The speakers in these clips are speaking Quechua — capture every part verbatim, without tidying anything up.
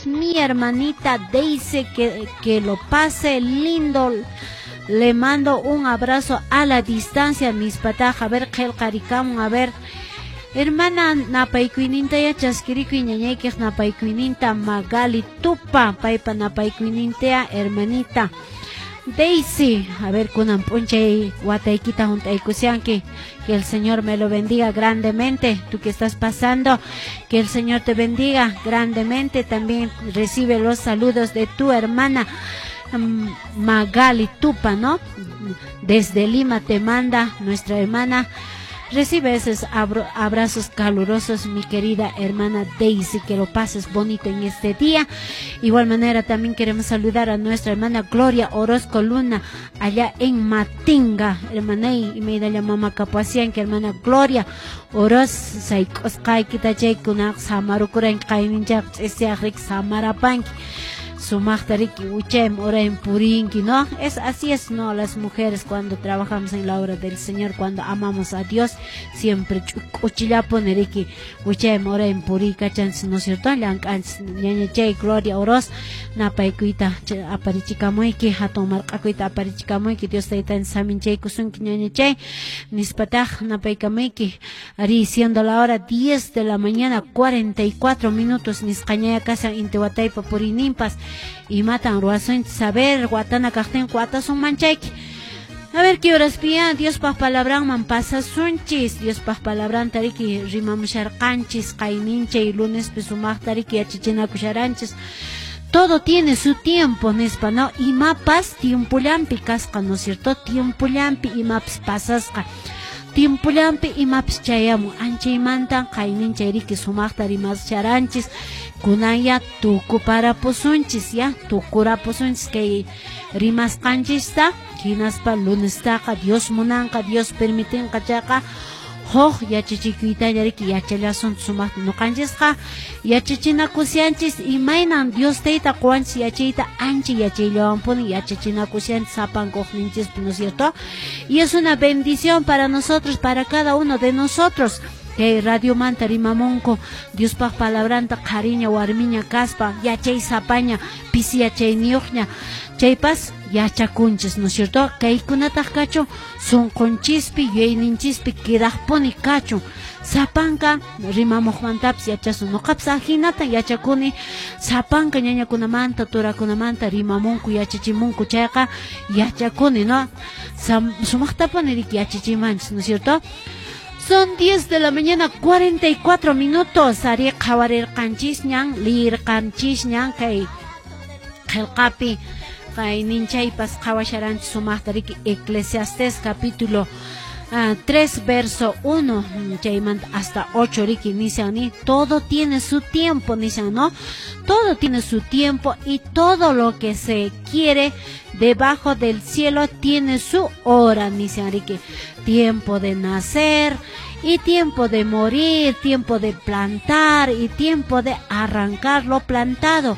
cumpleaños mi hermanita Daisy, que, que lo pase lindo. Le mando un abrazo a la distancia, nispataq. A ver, qillqarikamun, a ver. Hermana, napaykuyninta ya chaskirikuy, ñañaykiq napaykuyninta. Magali Tupa, paypa napaykuyninta, hermanita Daisy. A ver, kunan p'unchay wataykita hunt'aykushanki. Que el Señor me lo bendiga grandemente. Tú que estás pasando, que el Señor te bendiga grandemente. También recibe los saludos de tu hermana mm, Magali Tupa, ¿no? Desde Lima te manda nuestra hermana. Recibe esos abrazos calurosos, mi querida hermana Daisy, que lo pases bonito en este día. Igual manera también queremos saludar a nuestra hermana Gloria Orozco Luna, allá en Matinga. Hermana, y me da la mamá kapusian, que hermana Gloria Oroz, sayk'usqaykita chaykuna samarukuranki qayninchaq ch'isiyaq samarapanki. Sumaqta riki uchaymi uraymi purinki, ¿no? Es así es, ¿no? Las mujeres cuando trabajamos en la obra del Señor, cuando amamos a Dios, siempre k'uchillapuni riki uchaymi uraymi puriykachanchis, ¿no es cierto? Llank'anchis. Ñañachay Gloria Oroz, napaykuyta aparichikamuyki, hatun marq'akuyta aparichikamuyki, Dios taytanchis saminchaykusunki, ñañachay, nispataq napaykamuyki. Ari, siendo la hora diez de la mañana, cuarenta y cuatro minutos, nisqañaya kashan inti wataypa puriyninpas. Imatan ruwasunchis? Saber, watana kaqtin watasunman chayki. A ver qué horas pia, Diospaq palabranman pasasunchis. Diospaq palabranta riki rimamusharqanchis qayninchay lunespi sumaqta riki yachachinakusharanchis. Todo tiene su tiempo, nispa, ¿no? Imapas tiempollampi kasqa, ¿no es cierto? Tiempollampi imapas pasasqa. Tiempollampi imapas chayamun. Anchaymanta qayninchay riki sumaqta rimasharanchis. Kunan ya tukuparapusunchis, ya tukurapusunchis kay rimasqanchista, hinaspa lunestaqa Dios munanqa, Dios permitinqa chayqa huk yachachikuytalla riki yachallasun sumaqta. Ñuqanchisqa yachachinakushanchis imaynan Dios tayta quwanchis yachayta, ancha yachayllawanpuni yachachinakushanchis sapanka uqninchispi, ¿no es cierto? Y es una bendición para nosotros, para cada uno de nosotros. Kay radiomanta rimamunku Diospaq palabranta qhariña warmiña kaspa, yachay sapaña pisi yachayniyuqña chaypas yachakunchis, ¿no es cierto? Kaykunataq kachun sunqunchispi, yuyayninchispi quedaqpuni kachun. Sapanka rimamuqmantapas yachasun. Ñuqapas ajinata yachakuni sapanka ñañakunamanta, turakunamanta rimamunku, yachachimunku chayqa yachakuni, ¿no? Sumaqtapuni riki yachachimanchis, ¿no es cierto? Son diez de la mañana, cuarenta y cuatro minutos. Ari, qhawarirqanchisñan, liyirqanchisñan kay qillqapi qayninchaypas qhawasharanchis sumaqta riki Eclesiastés capítulo uh, tres verso uno chaymanta hasta ocho riki nishan ni todo tiene su tiempo nishan, ¿no? Todo tiene su tiempo y todo lo que se quiere debajo del cielo tiene su hora nishan riki. Tiempo de nacer y tiempo de morir, tiempo de plantar y tiempo de arrancar lo plantado,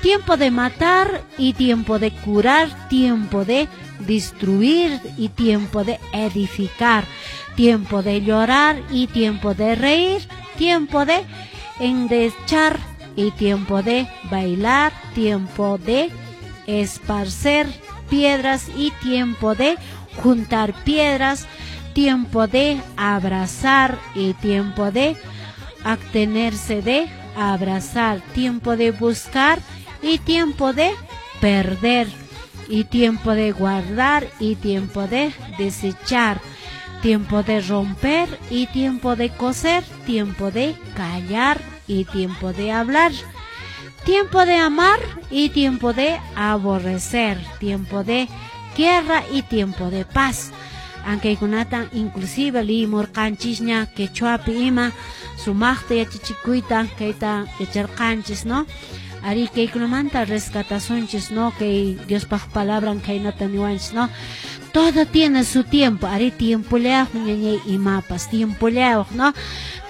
tiempo de matar y tiempo de curar, tiempo de destruir y tiempo de edificar, tiempo de llorar y tiempo de reír, tiempo de endechar y tiempo de bailar, tiempo de esparcer piedras y tiempo de juntar piedras, tiempo de abrazar y tiempo de abstenerse de abrazar, tiempo de buscar y tiempo de perder, y tiempo de guardar y tiempo de desechar, tiempo de romper y tiempo de coser, tiempo de callar y tiempo de hablar, tiempo de amar y tiempo de aborrecer, tiempo de guerra y tiempo de paz. Ankaykunata inclusive liyimurqanchisña quechuapi ima sumaqta yachachikuyta kayta yacharqanchis, ¿no? Ari, kaykunamanta rescatasunchis, ¿no? Kay Diospaq palabran khaynata niwanchis, ¿no? Todo tiene su tiempo. Ari, tiempollayuqmi, ñañay, imapas tiempollayuq, ¿no?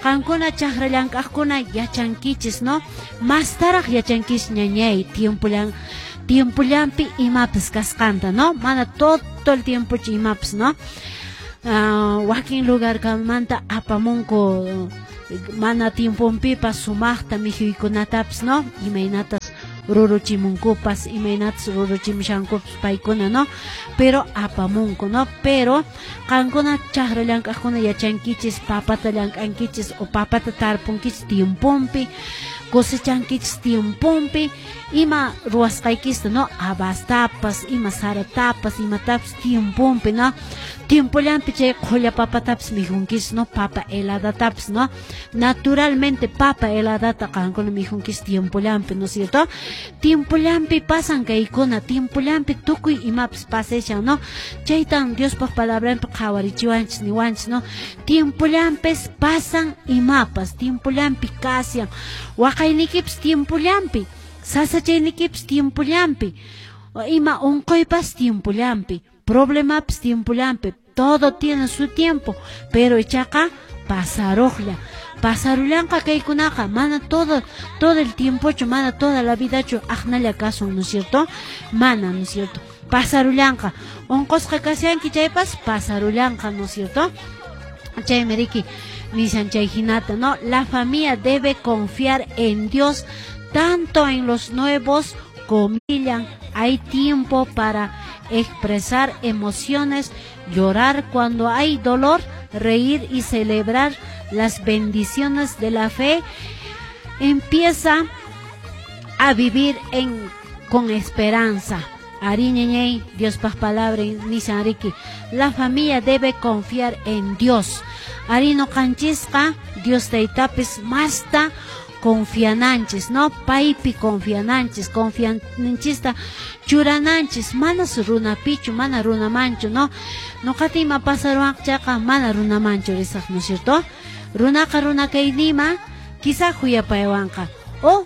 Qankuna chakra llank'aqkuna yachankichis, ¿no? Mastaraq yachankichis, ñañay, tiempollan tiempollampi imapas kasqanta, ¿no? Mana todo el tiempo imapas, ¿no? Uh, wakin lugarkamanta apamunku mana tiemponpipas sumaqta mikhuykunatapas, ¿no? Imaynatas Ruruchimunkupas, imaynatas ruruchimushankupas paykuna, no? Pero apamunku, no? Pero qankuna chakra llank'aqkuna yachankichis, papata llank'ankichis o papata tarpunkichis tiemponpi, cosechankichis tiemponpi, ima ruwasqaykista, no? Abastapas, ima saratapas, imatapas tiemponpi, no? Tiempollanpi chay qhulla papatapas mikhunkichis, no? Papa heladatapas, no? Naturalmente papa heladata qankuna mikhunkichis tiempollanpi, ¿no es cierto? Tiempollanpi pasan kaykuna, tiempollanpi tukuy imapas pasashan, no? Chaytan Diospaq palabranpi qhawarichiwanchis niwanchis, no? Tiempollanpis pasan imapas, tiempollanpi kashan, waqaynikipas tiempollanpi, sasachaynikipas tiempollanpi, ima unquypas tiempollanpi, problemapas tiempollanpi, todo tiene su tiempo, pero ichaqa pasaruqlla. Pasarullanqa kaykunaqa, mana todo todo el tiempochu, mana toda la vidachu aqnalla kasun, ¿no es cierto? Mana, ¿no es cierto? Pasarullanqa. Unqusqa kashanki chaypas pasarullanqa, ¿no es cierto? Chaymi riki nishan chay hinata, ¿no? La familia debe confiar en Dios tanto en los nuevos comillan. Hay tiempo para expresar emociones, llorar cuando hay dolor, reír y celebrar las bendiciones de la fe. Empieza a vivir en con esperanza. Arí ñañay, Diospaq palabra nishan riki. La familia debe confiar en Dios. Arí ñuqanchisqa Dios taytapis masta confiananchis, no? Paypi confiananchis, confiananchista churananchis, manas runapichu, mana runamanchu, no? Ñuqata ima pasaruwanqa chayqa mana runamanchu risaq, ¿no es cierto? Runaqa runa kaynima quizá khuyapaywanqa o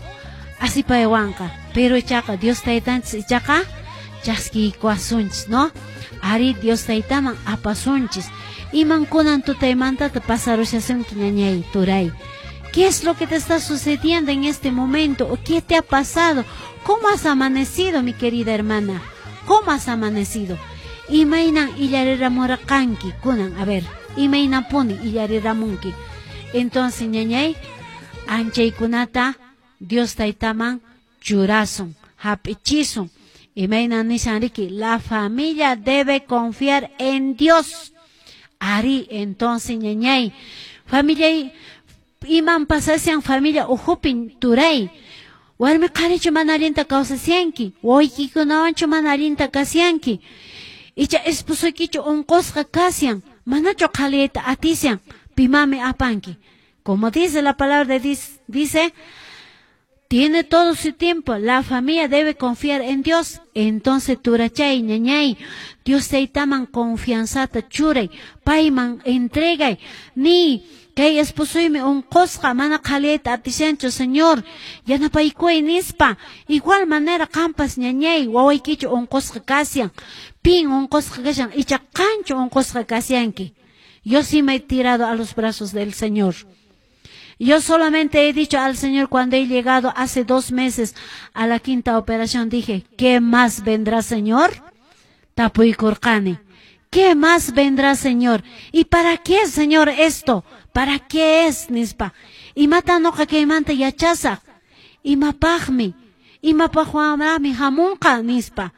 asipaywanqa, pero ichaqa Dios taytanchis ichaqa chaskiykuwasunchis, ¿no? Ari Dios taytaman apasunchis. Iman kunan tutaymantata pasarushasunki ñañay, turay. ¿Qué es lo que te está sucediendo en este momento? ¿O qué te ha pasado? ¿Cómo has amanecido, mi querida hermana? ¿Cómo has amanecido? Imaynan illariramurqanki kunan, a ver, imaynapuni illariramunki. Entonces, ñañay, anchaykunata Dios taytaman churasun, hap'ichisun. Imaynan nishan riki, la familia debe confiar en Dios. Ari, entonces, ñañay, familia iman pasashan familia ukhupin turay. Warmi qharichu mana allinta kawsashanki, wawaykikunawanchu mana allinta kashanki. Icha esposoykichu unqusqa kashan, manachu qhaliyayta atishan, pimami apanki. Como dice la palabra de Dios, dice, tiene todo su tiempo, la familia debe confiar en Dios. Entonces turachay, ñañay, Dios taytaman confianzata churay, payman entregay, ni kay esposoymi unqusqa mana qhaliyayta atishanchu, Señor, yanapaykuway nispa. Igual manera qampas ñañay, wawaykichu unqusqa kashan, pin unqusqa kashan, icha qanchu unqusqa kashanki. Yo sí me he tirado a los brazos del Señor. Yo solamente he dicho al Señor cuando he llegado hace dos meses a la quinta operación, dije, ¿qué más vendrá, Señor? Tapuykurqani. ¿Qué más vendrá, Señor? ¿Y para qué, Señor, esto? ¿Para qué es, nispa? Imata ñuqa kaymanta yachasaq. Imapaqmi. Imapaqwanraqmi hamunqa, nispa.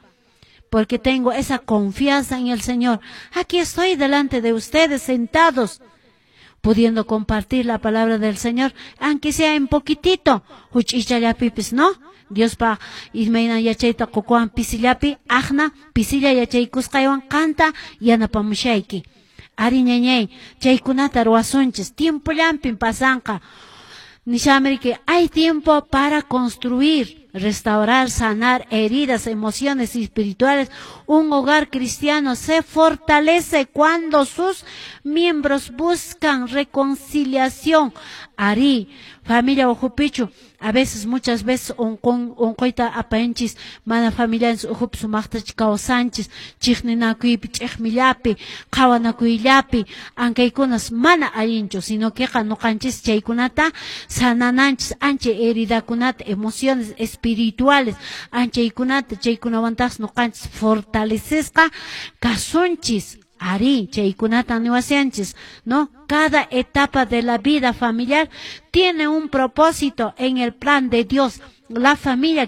Porque tengo esa confianza en el Señor. Aquí estoy delante de ustedes sentados, pudiendo compartir la palabra del Señor, aunque sea en poquitito. Huch'iychallapipis, ¿no? Diospa imayna yachayta qukuwan pisillapi, aqna pisilla yachaykusqaywan qanta yanapamushayki. Ari ñañay, chaykunata ruwasunchis, tiempollampin pasanqa. Nishamiriki, hay tiempo para construir, restaurar, sanar heridas, emociones espirituales. Un hogar cristiano se fortalece cuando sus miembros buscan reconciliación. Ari, familia ukhupichu, a veces, muchas veces, unquyta apanchis, mana familianchis ukhupi sumaqtachu kawsanchis, chiqninakuypi, ch'iqmillapi, qhawanakuyllapi, ankaykunas mana allinchu, sino que ñuqanchis chaykunata sanananchis, ancha heridakunata, emociones espirituales, anchaykunata, chaykunawantaqsi ñuqanchis fortalecesqa kasunchis. Ari, chaykunata niwashanchis, ¿no? Cada etapa de la vida familiar tiene un propósito en el plan de Dios. La familia